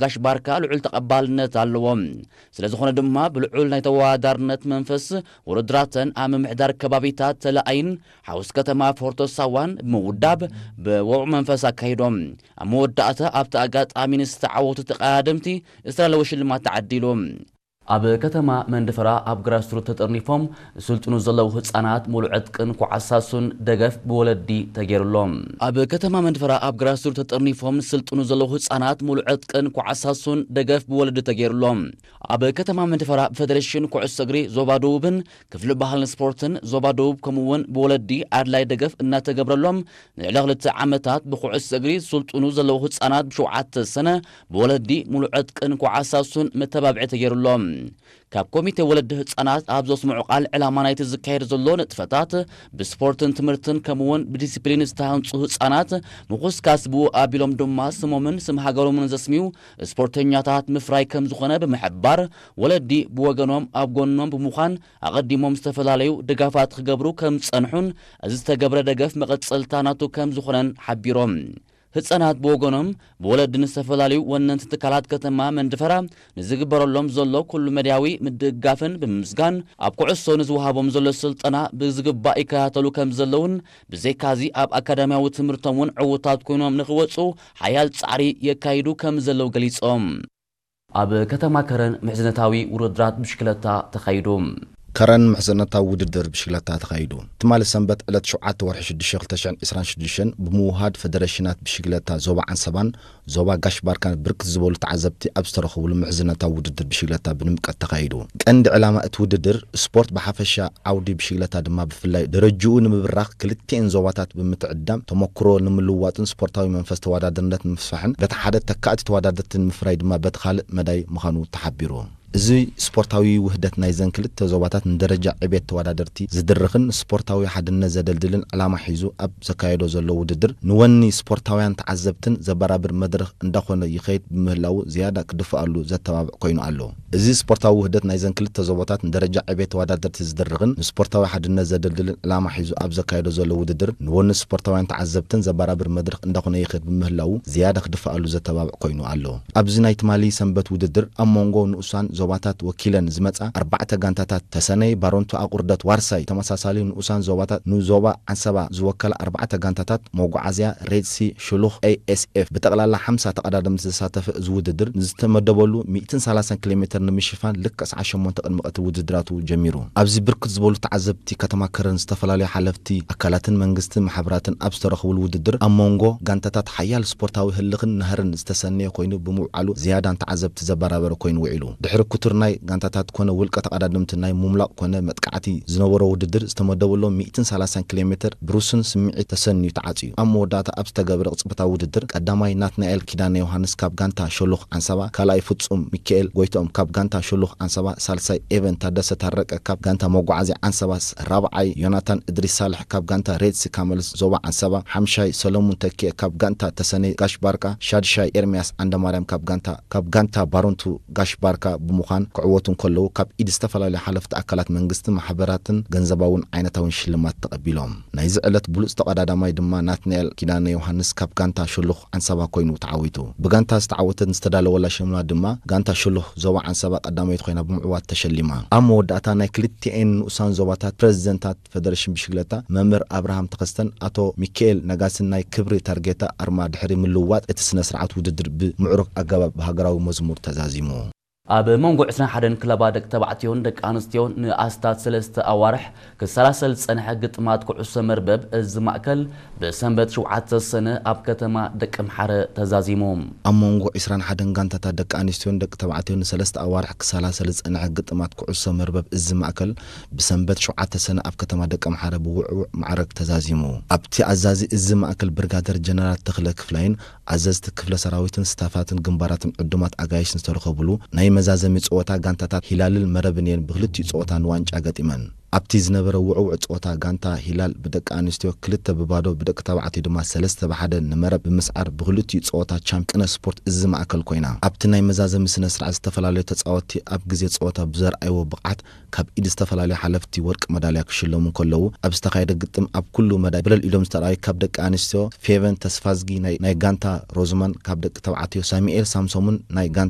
ጋሽ ባርካ ልዑል ተቐባልነት ኣለዎ። ስለ ዝኾነ ድማ ብልዑል ናይ ተወዳዳርነት መንፈስ ውድድራተን ኣብ ምምሕዳር ከባቢታት ተላኣይን ሓውስ ከተማ ፎርቶ ሳዋን ብምውዳብ ብወቕዑ መንፈስ ኣካይዶም። ኣብ መወዳእታ ኣብቲ ኣጋጣሚ ንዝተዓወቱ ተቐዳደምቲ ዝተላለወ ሽልማት ተዓዲሉ። ኣብ ከተማ መንደፈራ ኣብ ግራስሩት ተጠርኒፎም ዝስልጥኑ ዘለዉ ህጻናት ሙሉዕ ዕጥቅን ኮዓሳሱን ደገፍ ብወለዲ ተገይሩሎም። ኣብ ከተማ መንደፈራ ኣብ ግራስሩት ተጠርኒፎም ዝስልጥኑ ዘለዉ ህጻናት ሙሉዕ ዕጥቅን ኮዓሳሱን ደገፍ ብወለዲ ተገይሩሎም። ኣብ ከተማ መንደፈራ ብፌደሬሽን ኩዕሶ እግሪ ዞባ ደቡብን ክፍሊ ባህልን ስፖርትን ዞባ ደቡብ ከምኡ እውን ብወለዲ ኣድላይ ደገፍ እናተገብረሎም ንልዕሊ ክልተ ዓመታት ብኩዕሶ እግሪ ዝስልጥኑ ዘለዉ ህጻናት ብሸውዓተ ሰነ ብወለዲ ሙሉዕ ዕጥቅን ኮዓሳሱን መተባብዒ ተገይሩሎም። ካብ ኮሚቴ ወለዲ ህጻናት ኣብ ዘስምዑ ቃል ዕላማ ናይቲ ዝካየድ ዘሎ ንጥፈታት ብስፖርትን ትምህርትን ከምኡ እውን ብዲሲፕሊን ዝተሃንጹ ህጻናት ምኹስካስ ብኡ ኣቢሎም ድማ ስሞምን ስም ሃገሮምን ዘስምዩ ስፖርተኛታት ምፍራይ ከም ዝኾነ ብምሕባር ወለዲ ብወገኖም ኣብ ጎኖም ብምዃን ኣቐዲሞም ዝተፈላለዩ ድጋፋት ክገብሩ ከም ዝጸንሑን እዚ ዝተገብረ ደገፍ መቐጸልታ ናቱ ከም ዝኾነን ሓቢሮም። ህጻናት ብወገኖም ብወለዲ ንዝተፈላለዩ ወነንቲ ትካላት ከተማ መንደፈራ ንዝግበረሎም ዘሎ ኩሉ መድያዊ ምድግጋፍን ብምምስጋን ኣብ ኩዕሶ ንዝወሃቦም ዘሎ ስልጠና ብዝግባእ ይከታተሉ ከም ዘለውን ብዘይካዚ ኣብ ኣካዳሚያዊ ትምህርቶም እውን ዕዉታት ኮይኖም ንክወፁ ሓያል ጻዕሪ የካይዱ ከም ዘለዉ ገሊጾም። ኣብ ከተማ ከረን ምሕዝነታዊ ውድድራት ብሽክለታ ተኻይዱ። ከረን ምሕዝነታዊ ውድድር ብሽክለታ ተኻይዱ። ትማሊ ሰንበት ዕለት ሸውዓተ ወርሒ ሽዱሽተ ክልተ ሽሕን ዕስራን ሽዱሽተን ብምውሃድ ፈደረሽናት ብሽክለታ ዞባ ዓንሰባን ዞባ ጋሽ ባርካን ብርክት ዝበሉ ተዓዘብቲ ኣብ ዝተረኸብሉ ምሕዝነታዊ ውድድር ብሽክለታ ብድምቀት ተኻይዱ። ቀንዲ ዕላማ እቲ ውድድር ስፖርት ብሓፈሻ ዓውዲ ብሽክለታ ድማ ብፍላይ ደረጅኡ ንምብራኽ ክልቲኤን ዞባታት ብምትዕዳም ተመክሮ ንምልውዋጥን ስፖርታዊ መንፈስ ተወዳደርነት ንምስፋሕን በቲ ሓደ ተካእቲ ተወዳደርቲ ንምፍራይ ድማ በቲ ካልእ መዳይ ምዃኑ ተሓቢሩ። እዚ ስፖርታዊ ውህደት ናይዘን ክልተ ዞባታት ንደረጃ ዕቤት ተወዳደርቲ ዝድርኽን ስፖርታዊ ሓድነት ዘደልድልን ዕላማ ሒዙ ኣብ ዘካየዶ ዘሎ ውድድር ንወኒ ስፖርታውያን ተዓዘብትን ዘበራብር መድረኽ እንዳኾነ ይኸይድ ብምህላዉ ዝያዳ ክድፍኣሉ ዘተባብዕ ኮይኑ ኣሎ። እዚ ስፖርታዊ ውህደት ናይዘን ክልተ ዞባታት ንደረጃ ዕቤት ተወዳደርቲ ዝድርኽን ንስፖርታዊ ሓድነት ዘደልድልን ዕላማ ሒዙ ኣብ ዘካየዶ ዘሎ ውድድር ንወኒ ስፖርታውያን ተዓዘብትን ዘበራብር መድረኽ እንዳኾነ ይኸይድ ብምህላዉ ዝያዳ ክድፍኣሉ ዘተባብዕ ኮይኑ ኣሎ። ኣብዚ ናይ ትማሊ ሰንበት ውድድር ኣብ መንጎ ንኡሳን ዞባታት ወኪለን ዝመጻ ኣርባዕተ ጋንታታት ተሰነይ፣ ባረንቱ፣ ኣቑርደት፣ ዋርሳይ ተመሳሳሊ ንኡሳን ዞባታት ንዞባ ዓንሰባ ዝወከላ ኣርባዕተ ጋንታታት መጓዓዝያ፣ ሬድሲ፣ ሽሉኽ፣ ኤ ኤስ ኤፍ ብጠቕላላ ሓምሳ ተቐዳደምቲ ዘሳተፈ እዚ ውድድር ንዝተመደበሉ ሚእትን ሰላሳን ኪሎ ሜትር ንምሽፋን ልክዕ ሰዓት ሸሞንተ ቅድሚ ቀትሪ ውድድራቱ ጀሚሩ። ኣብዚ ብርክት ዝበሉ ተዓዘብቲ ከተማ ከረን ዝተፈላለዩ ሓለፍቲ ኣካላትን መንግስትን ማሕበራትን ኣብ ዝተረኸብሉ ውድድር ኣብ መንጎ ጋንታታት ሓያል ስፖርታዊ ህልኽን ናህርን ዝተሰነየ ኮይኑ ብምውዓሉ ዝያዳ ንተዓዘብቲ ዘበራበረ ኮይኑ ውዒሉ። ድሕሪ ክቱር ናይ ጋንታታት ኮነ ውልቀ ተቐዳደምቲ ናይ ምምላቕ ኮነ መጥቃዕቲ ዝነበሮ ውድድር ዝተመደበሎም ሚእትን ሰላሳን ኪሎ ሜትር ብሩስን ስምዒት ተሰንዩ ተዓጽዩ። ኣብ መወዳእታ ኣብ ዝተገበረ ቅጽበታዊ ውድድር ቀዳማይ ናትናኤል ኪዳነ ዮሃንስ ካብ ጋንታ ሸሎኽ ዓንሰባ፣ ካልኣይ ፍጹም ሚካኤል ጎይትኦም ካብ ጋንታ ሸሎኽ ዓንሰባ፣ ሳልሳይ ኤቨን ታደሰ ታረቀ ካብ ጋንታ መጓዓዝያ ዓንሰባ፣ ራብዓይ ዮናታን እድሪስ ሳልሕ ካብ ጋንታ ሬድሲ ካመልስ ዞባ ዓንሰባ፣ ሓምሻይ ሰለሙን ተኪኤ ካብ ጋንታ ተሰነይ ጋሽ ባርካ፣ ሻድሻይ ኤርሚያስ ዓንደማርያም ካብ ጋንታ ካብ ጋንታ ባረንቱ ጋሽ ባርካ ብምዃን ክዕወቱ እንከለዉ ካብ ኢድ ዝተፈላለዩ ሓለፍቲ ኣካላት መንግስቲ ማሕበራትን ገንዘባውን ዓይነታውን ሽልማት ተቐቢሎም። ናይዚ ዕለት ብሉጽ ተቐዳዳማይ ድማ ናትናኤል ኪዳነ ዮሃንስ ካብ ጋንታ ሽሉኽ ዓንሰባ ኮይኑ ተዓዊቱ። ብጋንታ ዝተዓወተት ዝተዳለወላ ሽልማት ድማ ጋንታ ሽሉኽ ዞባ ዓንሰባ ቀዳመይቲ ኮይና ብምዕዋት ተሸሊማ። ኣብ መወዳእታ ናይ ክልቲኤን ንኡሳን ዞባታት ፕረዚደንታት ፈደረሽን ብሽክለታ መምህር ኣብርሃም ተኸስተን ኣቶ ሚካኤል ነጋስን ናይ ክብሪ ታርጌታ ኣርማ ድሕሪ ምልውዋጥ እቲ ስነ ስርዓት ውድድር ብምዕሩግ ኣገባብ ብሃገራዊ መዝሙር ተዛዚሙ። ኣብ መንጎ ዕስራን ሓደን ክለባ ደቂ ተባዕትዮን ደቂ ኣንስትዮን ንኣስታት ሰለስተ ኣዋርሕ ክሰላሰል ዝጸንሐ ግጥማት ኩዕሶ መርበብ እዚ ማእከል ብሰንበት ሸውዓተ ሰነ ኣብ ከተማ ደቀምሓረ ተዛዚሙ። ኣብ መንጎ ዕስራን ሓደን ጋንታታት ደቂ ኣንስትዮን ደቂ ተባዕትዮን ንሰለስተ ኣዋርሕ ክሰላሰል ዝጸንሐ ግጥማት ኩዕሶ መርበብ እዚ ማእከል ብሰንበት ሸውዓተ ሰነ ኣብ ከተማ ደቀምሓረ ብውዕዉዕ ማዕረግ ተዛዚሙ። ኣብቲ ኣዛዚ እዚ ማእከል ብርጋደር ጀነራል ተኽለ ክፍላይን ኣዘዝቲ ክፍለ ሰራዊትን ስታፋትን ግንባራትን ዕዱማት ኣጋይሽን ዝተረኸብሉ ናይ መዛዘሚ ጸወታ ጋንታታት ሂላልን መረብን እየን ብክልቲኡ ጸወታ ንዋንጫ ገጢመን። ኣብቲ ዝነበረ ውዕውዕ ጸወታ፣ ጋንታ ሂላል ብደቂ ኣንስትዮ ክልተ ብባዶ፣ ብደቂ ተባዕትዮ ድማ ሰለስተ ብሓደ ንመረብ ብምስዓር፣ ብክልቲኡ ጸወታ ቻምፕ ቅነ ስፖርት እዚ ማእከል ኮይና። ኣብቲ ናይ መዛዘሚ ስነ ስርዓት፣ ዝተፈላለዩ ተጻወትቲ ኣብ ግዜ ጸወታ ብዘርኣይዎ ብቕዓት ካብ ኢድ ዝተፈላለዩ ሓለፍቲ ወርቂ መዳልያ ክሽለሙ እንከለዉ፣ ኣብ ዝተኻየደ ግጥም ኣብ ኩሉ መዳይ ብለል ኢዶም ዝተርኣዩ ካብ ደቂ ኣንስትዮ ፌቨን ተስፋዝጊ ናይ፣ ናይ ጋንታ ሮዝማን፣ ካብ ደቂ ተባዕትዮ ሳሙኤል ሳምሶምን ናይ ጋንታ